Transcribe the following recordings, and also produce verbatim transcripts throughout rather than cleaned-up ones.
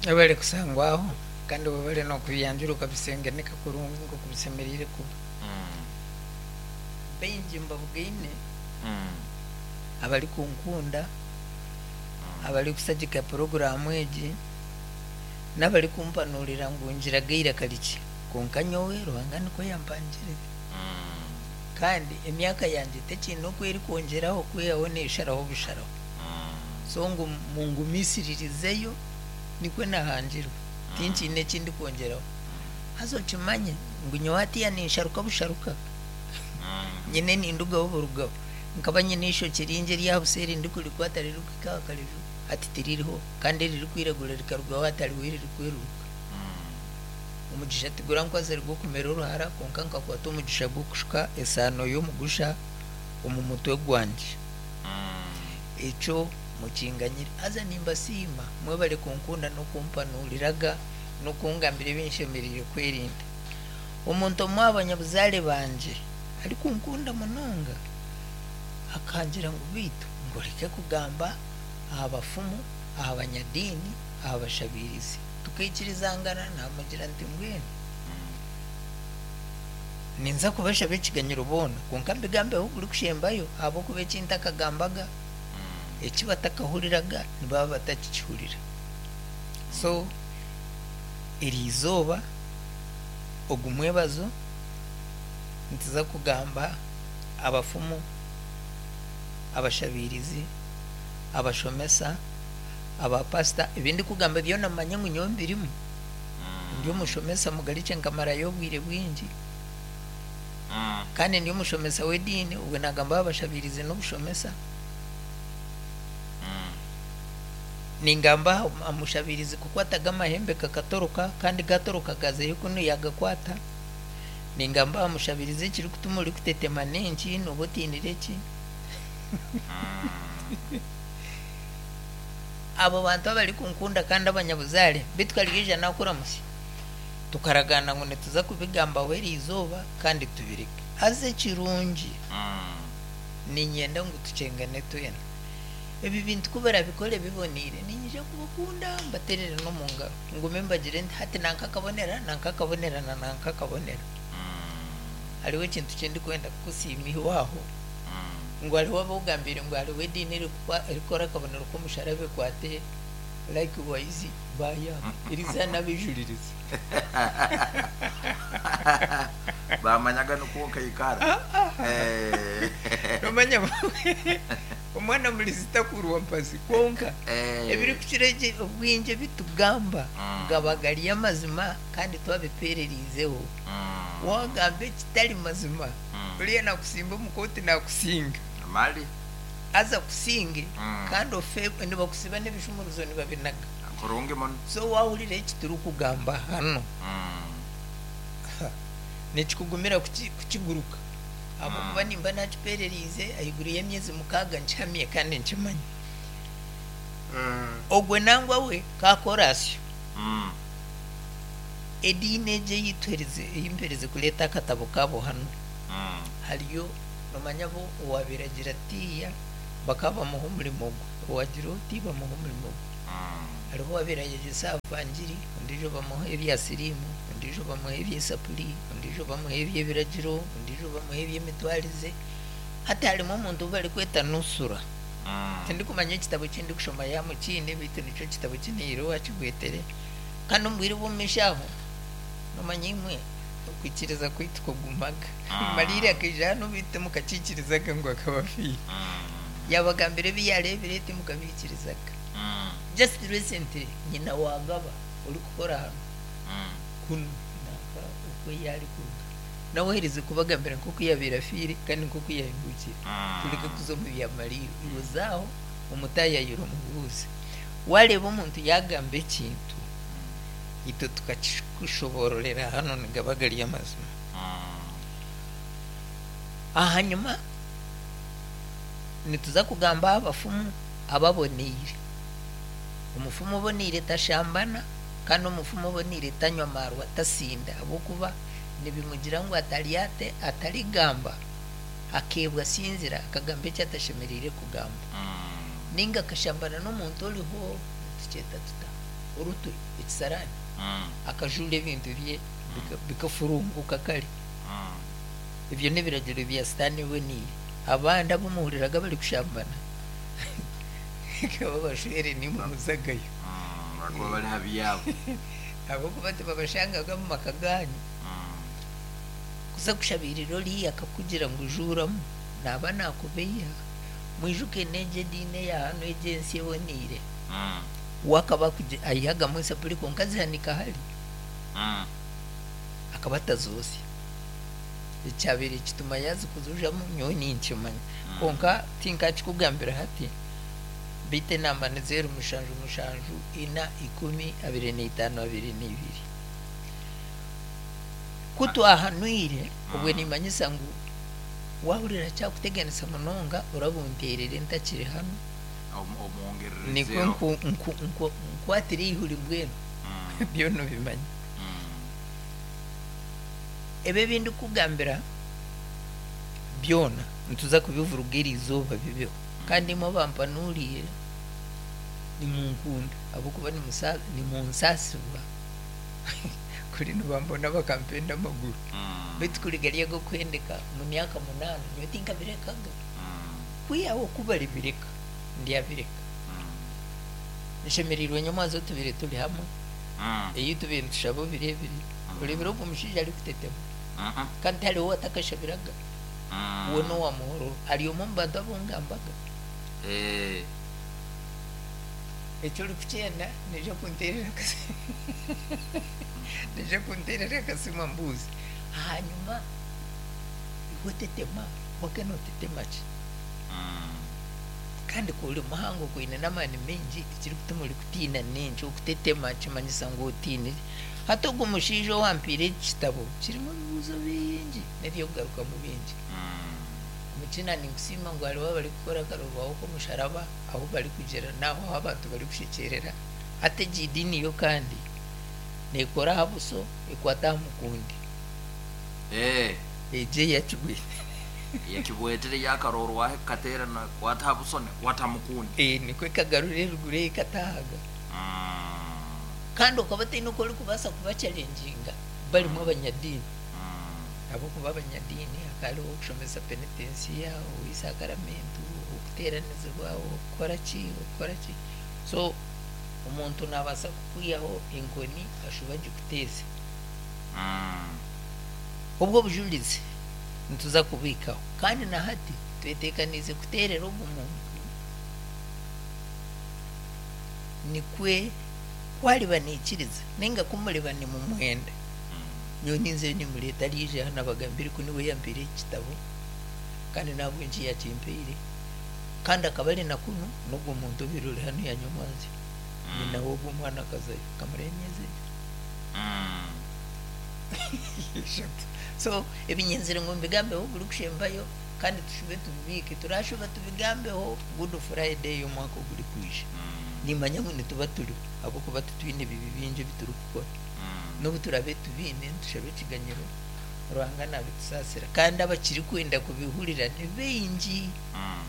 Webale kusangwaho kandi webale n'okubyanjura okabisengeneka kurungi nk'oku bisemeriire kuba. Baingi mbabugaine abarikunkunda, abarikushagika puroguraamu egi, n'abarikumpanurira ngu ngiraga eiraka rikye. Kwonka nyowe Ruhanga nikwo yampangire. Kandi emyaka yangye tekiine oku erikwongyeraho kwihaho neesharaho busharaho. So ngu mungumisiririzeyo nikwo nahangirwe, tinkiine eki ndikwongyeraho. Haza okimanye ngu nyowe hatiiya ninsharuka busharuka, nyine nindugaho burugaho. Nkaba nyine eishokye ringi ery'aha buseeri ndikurikwata ririkuhika aha kareju, hati tiririho kandi eririkwiragura rikarugaho hati hariho eririkweruruka. Omugisha tigurankwasire gw'okumera oruhara kwonka nkakwata omugisha gw'okushuka esaano y'omugusha omu mutwe gwangye. Ekyo mukinganyire. Haza nimbasiima mwebare kunkunda n'okumpanuriraga n'okungambira ebi nshemereire kwerinda. Omuntu omwe aha banyabuzaare bangye arikunkunda munonga akangira ngu beitu ngu oreke kugamba aha bafumu, aha banyadiini, aha bashabiirizi. Tukaikirizangana naamugira nti mbwenu ninza kubashaba ekiganyiro boona kwonka mbigambeho gurikushembayo ahabw'okuba eki ntakagambaga eki batakahuriraga nibaba batakikihurira. So eriizooba ogu mwebazo nituza kugamba abafumu, abashabiirizi, abashomesa, abapasita, ebi ndikugamba byona mumanye ngu nyowe mbirimu. Ndi omushomesa mugarukye nkamarayo obwire bwingi kandi ndi omushomesa w'ediini, obwe nagamba abashabiirizi n'obushomesa. Ningamba aha mushabiirizi kukwataga amahembe kakatoroka kandi gatoroka gazayo kunu yagakwata. Ningamba aha mushabiirizi ekirikutuma orikutetema n'enki nooba otiinire ki. Abo bantu abarikunkunda kandi abanyabuzaare beitu Karyeija naakuramutsya tukaragaana ngu nituza kubigambaho eriizooba kandi tubireke. Haza ekirungi niinyenda ngu tukyengane twena. Ebi bintu ku barabikore biboneire niinyija kubakunda mbateerere n'omu ngaro ngume mbagire nti hati nanka akabonera nanka akabonera na nanka akabonera. Hariho ekintu ki ndikwenda kukusiima iwe aho ngu hariho abu ogambiire ngu hariho ediini erikukora akabonero k'omusharaba ekwate likewise baayanga eriizooba n'abeijuririza. Bamanyaga nikwo nkaikara. Nomanya omwana murizi takurwa mpazi kwonka ebirikukira obwingi ebi tugamba gaba gari amazima kandi twabipereriizeho. Wagamba ekitari mazima oriya nakusimba omu kooti nakusinga. Mali. Haza akusinge kandi ofe nibakusiba n'ebishumuruzo nibabinaga. Kurungi muno. So wahurira eki turikugamba hano nikikugumira kukiguruka ahabw'okuba nimba nakipereriize ahaiguru y'emyezi mukaaga nkihamye kandi nkimanye. Ogwe nangwa we kakora asyo. Ediini egi ei mperize kureeta akatabo kaabo hanu hariyo nomanya bo owabaire agira atiiya bakaba bamuha omurimo gwe, owagira oti bamuha omurimo gwe. Hariho owabaire ayegyesa aha vangiri, ondiijo bamuha ebya siriimu, ondiijo bamuha eby'esapuri, ondiijo bamuha eby'ebiragiro, ondiijo bamuha eby'emitwarize. Hati harimu omuntu ou barikweta Nusura. Tindikumanya ekitabo eki ndikushoma yaaba mukiine beitu nikyo kitabo eki niihaire owakigwetere. Kandi omu bwire bw'omu maisho aho nomanya imwe okwikiriza kwaitu kugumaga. Mariiri akaija hanu beitu timukakiikirizaga ngu akaba afiire. Yaabagambira ebi yaareebire timukabiikirizaga. Just recently nyina wa Gaba orikukora hanu kunu nanka oku ei arikuruga nawe aherize kubagambira nk'oku yaabaire afiire kandi nk'oku yaahindukire. Tureke kuza omu bya Mariiri. Iwe zaaho omutaayayire omubuuze. Waareeba omuntu yaagamba ekintu itwe tukakikushoboororera hanu nigaba gari amazima. Ahanyima nituza kugamba aha bafumu ababoneire. Omufumu oboneire tashambana kandi omufumu oboneire tanywa maarwa tasinda ahabw'okuba nibimugira ngu ataryate atarigamba akeebwa asinzire akagamba eki atashemereire kugamba. Nainga akashambana n'omuntu oriho nitukyeta tuta? orutwe ekisarani Mm. akajura ebintu bye bika- bikafurunguka kare. Mm. Ebyo n'ebiragiro bya sitaani ebonire. Abandi abumuhuriraga bari kushambana kaba bashwere nimwe muzagayo. Mm. Bakuba bari habi yabo. Ahabwokuba tibabashangaga omu maka ganyu. Mm. Kuza kushabirira oriya akakugira ngu juuramu naba nakubeiha. Mwijuke n'egyo ediini eya hanu egyo ensi eboniire. Mm. Wakaba aihagamu esapuri kwonka azihanika hari Mm. akaba atazosya. Ekyabaire kituma yazikuzujamu nyowe ninkimanya. Kwonka tinkakikugambira hati, beitu enamba ni zeero mushanju mushanju ina ikumi abiri n'eitaano abiri n'ibiri. Ku twahanwire obwe nimanyisa ngu wahurira kyakuteganisa munonga orabunteerere ntakiri hanu. Omu- omwongererezeho. Nikwo nku- nku- nku- nkwatire eihuri mbwenu. Mm. Byona obimanya. Mm. Ebi ebindikugambira byona nituza kubivuruga eri izooba bibeho. Kandi imwe abampanuriire nimunkunda ahabwokuba nimusa- nimunsaasibwa kuri nibambona bakampenda amaguru. Mm. Beitu kuri gari ag'okuhendeka mu myaka munaana nyowe tinkabirekaga. Mm. Kwihaho ku baribireka ndyabireka. Mm. Nshemereirwe nyomwazo tubire turi hamwe. Mm. Ei tubire nitushaba obireebire. Oreebire ogwo mushaija arikutetema. Mhm. Kandi tihariho atakashabiraga. Mm. We n'owa muhororo ari omwe omu bantu abungambaga. Eh. Ekyo orikukyenda naija kunteerera akasimu naija kunteerera akasimu ambuuze. Ahanyuma iwe otetema wake nootetema ki? Mm. Kandi ku ori muhango kwine n'amaani maingi ekirikutuma orikutiina n'enki okutetema kimanyisa ngu otiinire. Hati ogwo mushaija owampiire eki kitabo kirimu ebibuuzo bingi n'ebyokugarukamu bingi. Mm. Omukina ninkusiima ngu hariho abarikukora akarobaho k'omusharaba ahu barikugira n'aho ahu abantu barikushekyerera. Hati egi ediini yo kandi neekora aha buso ekwata aha mukundi. Eh. Egyo eyakigwire. Yakibwetere yakarorwaho ekateerana kwata ha buso nekwata mukundi. Eh, nikwo ekagarura eruguru ekatahaga. Mm. Kandi okaba otaine oku orikubaasa kubachallenginga barimu abanyadiini. Mm. Ahabwokuba abanyadiini hakaba hariho okushomesa penitensiya, ow'eisakaramentu, okuteeranizibwa, okukora ki, okukora ki. So omuntu naabaasa kukwihaho enkoni ashuba agikuteeze. Mm. Obwo obujurizi nituza kubiikaho. Kandi na hati tweteekaniize kuteerera ogu muntu nikwe kwariba naikiriza nainga kumuriba nimumwenda. Nyowe ninzeyo nimureeta ariija hanu abagambire ku niwe yampiire eki kitabo kandi nahabw'enki yakimpiire. Kandi akaba ari na kunu n'ogwo muntu obaire ori hanu yanyomwanzya. Nyina w'ogwo omwana akazayo akamarayo emyezi ebiri. Mm. Eshatu. So ebinyenzire ngu mbigambeho burikushembayo kandi tushube tubibiike. Turashuba tubigambeho Good Friday y'omwaka ogurikwija. Mm. Nimanya ngu nituba turiho ahabwokuba titwine bibi bingi ebi turikukora. Mm. N'obu turabe tubiine nitushaba ekiganyiro Ruhanga nabitusaasira. Kandi abakirikwenda kubihurira ni baingi. Mm.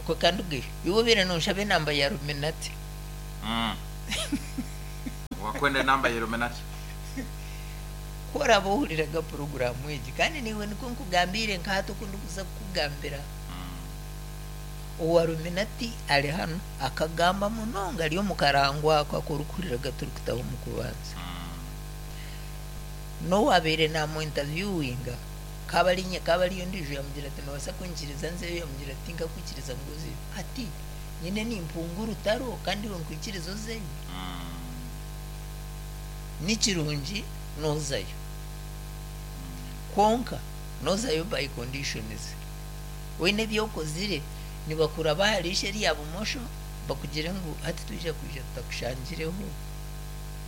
Okwo kandi ubwe iwe obaire nonshaba enamba ya Illuminati. Mm. Wakwenda enamba ya Illuminati. Ku oraba ohuriraga puroguraamu egi kandi niiwe nikwo nkugambiire nka hati oku ndikuza kukugambira. Mm. Owa Illuminati ari hanu akagamba munonga ari omu karango ako aku orikuhuriraga turikutaho omu kubanza. Mm. N'owabaire namu-interviewinga kaba ari nye kaba ariyo ondiijo yamugira ati noobaasa kunyikiriza nzeyo yamugira ati tinkakwikiriza ngu ozeyo. Ati nyine nimpunga orutaro kandi iwe nkwikiriza ozeyo. Mm. Ni kirungi noozayo. Kwonka noozayo by conditions. Weine ebi okozire nibakuraba aha riisho erya bumosho bakugire ngu hati twija kwija tutakushangireho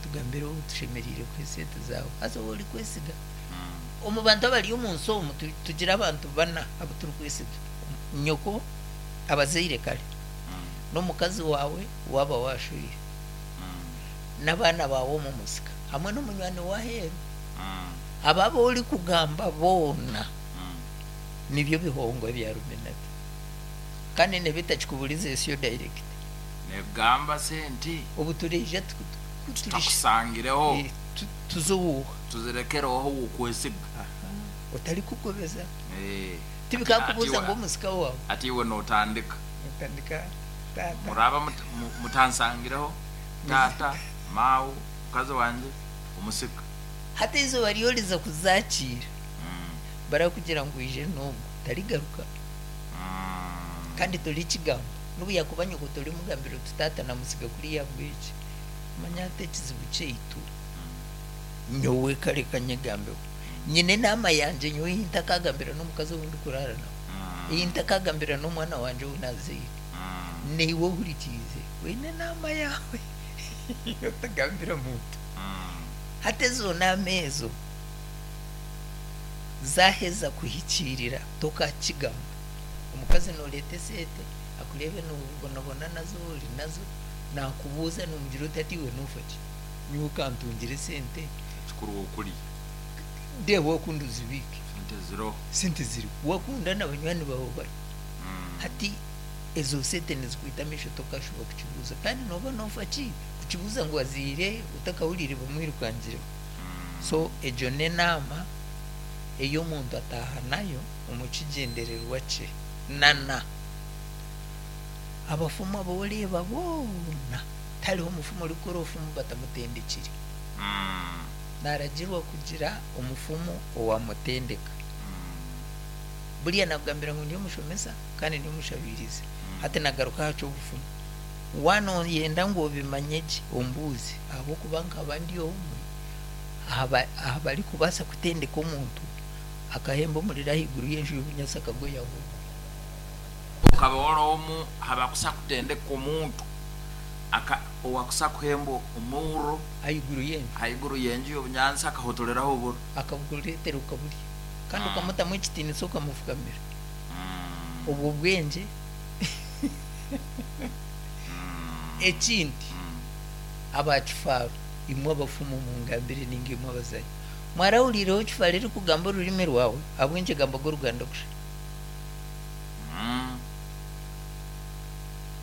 tugambireho tushemereire kuha esente zaawe. Haza ou orikwesiga. Mm. Omu bantu abari omu nsi omu tu- tugira abantu bana abu turikwesiga. Nyoko, abazaire kare, Mm. n'omukazi waawe waaba washwire, Mm. n'abaana baawe omu musika hamwe n'omunywani w'aheeru. Mm. Abo abu orikugamba boona Mm. nibyo bihongwa bya Illuminati. Kandi nebitakikuburiza esiyo direct. Negamba sente. Obu tureija tuku- Tutakusangireho. Tuzowuha. Tuzirekereho wokwesiga. Otari kukobeza. Eh. Tibikakubuza ngo musika wawe. Ati iwe notandika. Notandika tata. Muraba mutansangireho tata mawu mukazi wanje omusika. Hata izuba ryoriza kuzakira. Mm. Barakugira ngo ije n'ubwo tarigaruka. Mm. Kandi turi kigambo. Nubu yakubanye ko turi mugambiro tutata na musiga kuri ya bwiki. Manya tekizibu kyeitu. Nyowe kare kanyegambeho. Nyine nama yanje nyowe intakagambira n'omukazi wundi kurara nawe. Mm. Intakagambira n'omwana wanje unaziire. Mm. Niwe ohurikiize. Wine nama yawe. Yotagambira muntu. Mm. Hata ezo nama ezo zaheza kuhikirira tokakigamba. Omukazi noreeta esente akurebe nobonabona nazo ori nazo nakubuuza nomugira oti ati iwe nofaki nyowe okantungire esente kikuru okuri ndeeba wakunda ozibike sente ziriho sente ziriho wakunda n'abanywani bawe bari hati ezo sente nizikwita amaisho tokashuba kukibuuza kandi noba nofaki kukibuuza ngu waziire otakahuriire bamwirukangireho. So egyo n'enaama ey'omuntu ataaha nayo omu kigyendererwa kye nana abafumu aboreeba boona tariho omufumu orikukora obufumu batamutendekire. Mm. Naragirwa kugira omufumu owamutendeka. Mm. Buriya nagambira ngu ndi omushomesa kandi ndi omushabirizi. Hati nagaruka aha ky'obufumu. Wanoyenda ngu obimanye gye ombuuze ahabw'okuba nkaba ndi omwe aha barikubaasa kutendeka omuntu akahemba omuriro ahaiguru y'enju y'obunyatsi akagoyaho. Ukaba wari omu habakusa kutendeka omuntu aka owakusa kuhemba omuriro ahaiguru y'enju ahaiguru y'enju y'obunyansi akahotoleraho oburo akabukureetera okaburya kandi okamutamu ekitiinisa okamufukamira. Obwo bwengye. Ekindi abakifaaro imwe abafumu mungambire ninga imwe abazaire mwarahuriireho kifaaro erikugamba orurimi rwawe ahabw'enki egambaga oruganda kusha.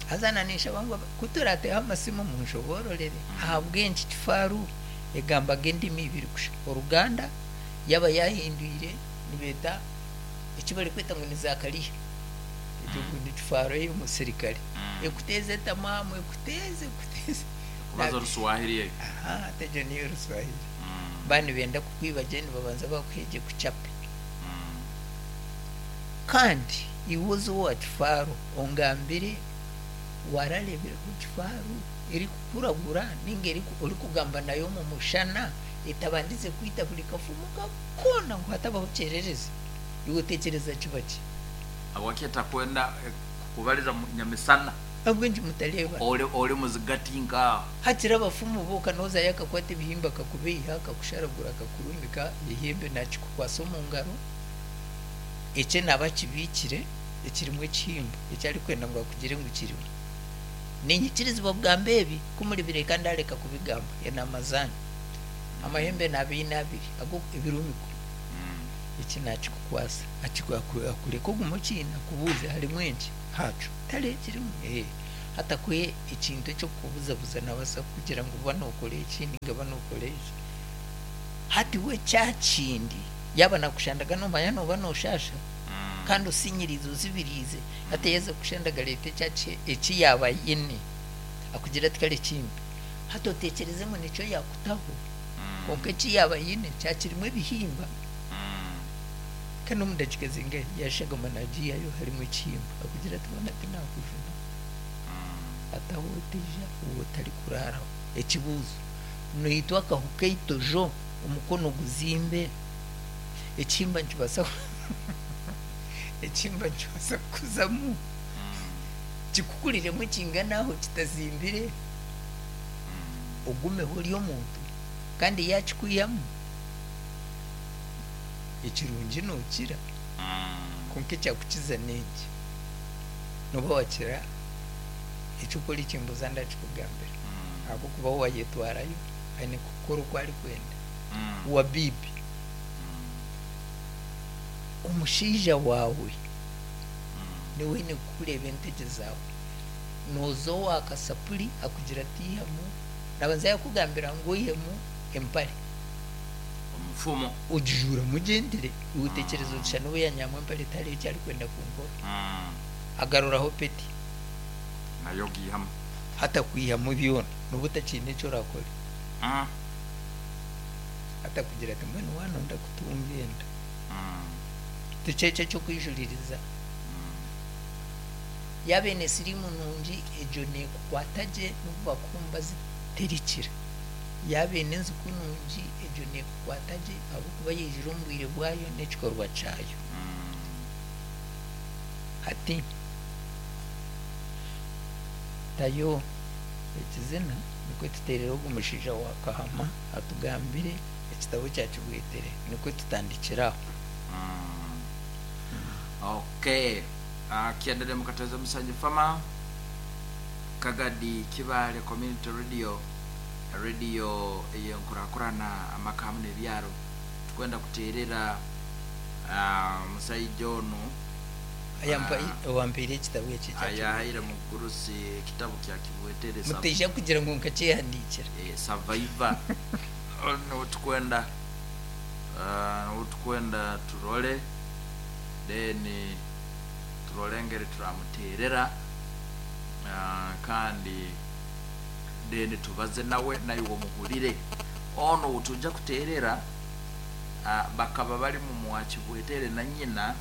Haza nanishaba ngu kuturateho amasimu munshoboororere ahabw'enki kifaaro egambaga endimi ibiri kusha. Oruganda yaba yahindwire nibeeta eki barikweta ngu ni Zakariya egyo ngu ni kifaaro y'omusirikare ekuteeze etamaamu ekuteeze ekuteeze kubaza oruswahili eyo. Aha tegyo niyo oruswahili. Bani benda kukwiba gye nibabanza bakuhegye kucape. Kandi iwe oze owa kifaaro ongambire warareebire kifaaro erikukuragura ninga orikugamba nayo omu mushana etabandize kwita buri kafumu koona ngu hatabaho kyererezi. Iwe otekyereza kiba ki? Habwaki etakwenda kukubariza nyamisana? Ahabw'enki mutareeba? Ori ori muzigati nkaho. Hakiri abafumu bo okanozayo akakwata ebihimba akakubeiha akakusharagura akakurumika ehembe nakikukwasa omu ngaro ekye naba akibiikire ekirimu ekihimba eki arikwenda ngu akugire ngu kirimu. Ninyikirizibwa kugamba ebi kumuribireka ndareka kubigamba enaama zanyu. Amahembe naaba abiri ago ebirumiko. Eki nakikukwasa akureka ogume okiine akubuuze harimu enki haco tariho ekirimu ee hatakuhe ekintu ekyokukubuzabuza nabaasa kukugira ngu ba nokora eki ninga ba nokora eki. Hati we kyakindi yaba nakushandaga nomanya noba noshasha kandi osinyirize ozibiriize hati yaza kushandaga areeta eki yaaba ayine akugira ati kare kimpe. Hati otekyereze ngu nikyo yakutaho konka eki yaaba ayine kyakirimu ebihimba. Kandi omu dakiika zingahi yashagama nagiihayo harimu ekihimba akugira ati bona tinakujuna. Hataho oteija ou otarikuraraho. Ekibuuzo noitwa akahu keitojo omukono guzimbe ekihimba nikibaasa ekihimba nikibaasa kukuzamu kikukuriremu kingana aho kitazimbire ogumeho ori omuntu kandi yakikwihamu ekirungi nokira konka ekyakukiza n'enki noba wakira ekyokora ekimbuza ndakikugambira ahabw'okuba wayetwarayo aine kukora oku arikwenda. Wabibi omushaija waawe niwe aine kukureeba entegye zaawe noza owa kasapuri akugira ati ihamu Nabanza yakugambira ngu oihemu empare omufumo. Ogijuura mugyendere, iwe otekyereza oti shana obu yanyihamu empare tihariho eki arikwenda kunkora. Mm. Agaruraho peti. Nayo giihamu. Hatakwihamu byona noba otakiine eki orakore. Mm. Atakugira ati mbwenu wanonda kutunga enda. Mm. Tikyo eky'okwijuririza. Mm. Yaaba eine siriimu nungi, egyo neekukwata gye n'obu bakuha ziterikira. Yaaba eine enziku nungi, egyo neekukwata gye ahabw'okuba yaijire omu bwire bwayo n'ekikorwa kyayo. Mm. Hati tayo ekizina nikwo tuteerere ogu mushaija wa Kahama atugambire ekitabo kya Kibwetere, nikwo tutandikire aho. Mm. Okay, uh, kiendelea mukateza musanju fama Kagadi Kibale Community Radio, radio eyenkurakurana amaka hamwe n'ebyaro. Tukwenda kuterera uh, musaija onu. Ayampa- owampeire ekitabo eki ekya ayahaire mugurusi ekitabo kya Kibwetere. Kibwetere. Muteija kugira ngu nkakyehandiikira. eh, survivor niwe tukwenda, uh, niwe tukwenda turole, then turole engeri turamuterera, uh, kandi then tubaze nawe, naye omuhurire ono tujja kuterera. uh, bakaba bali mu mwakibwetere na nyina,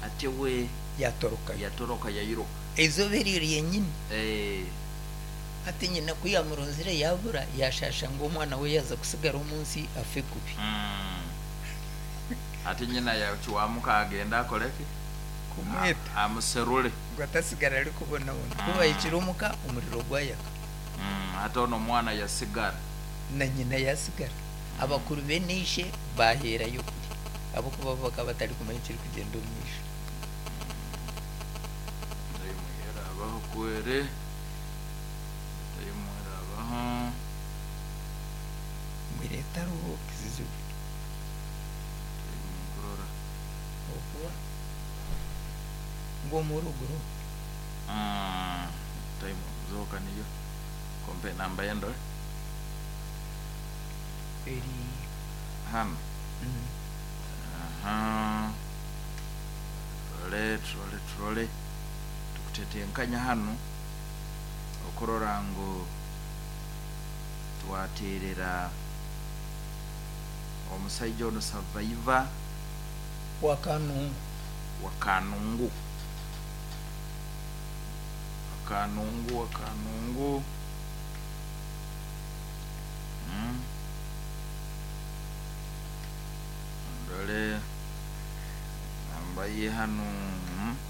ate we yatorokayo. Yatoroka, yayiruka. Eizooba eryo ryenyini. eh, Hati nyina ku yamurunzire yabura, yashasha ngu omwana we yaza kusigara omu nsi afe kubi. mm. ate nyina yakiwamuka agenda akoleki? Kumweta. A- amuserule. Ngu atasigara arikubonabona. Ku bahikire omuka, omuriro gwayaka. Mm, ate ono omwana yasigara. Na nyina yasigara. Abakuru beneishe baherayo kuri ahabwokuba bo bakaba batarikumanya ekiri kugyenda omu maisho. Ndayimuhera kwere, ndayimuhera. Mwireta hariho ekizibu. Ndayimukurora. Okuba ng'omuruguru. Mm, ndayimuzoka niyo kompe namba yendo. Eri hano. mm, Aha, turole, turole, turole, tukutetenkanya hano okurora ngu twaterera omusaija ono survivor. Wakanungu. Wakanungu, wakanungu, wakanungu. mm. ndole namba ye hano. mm.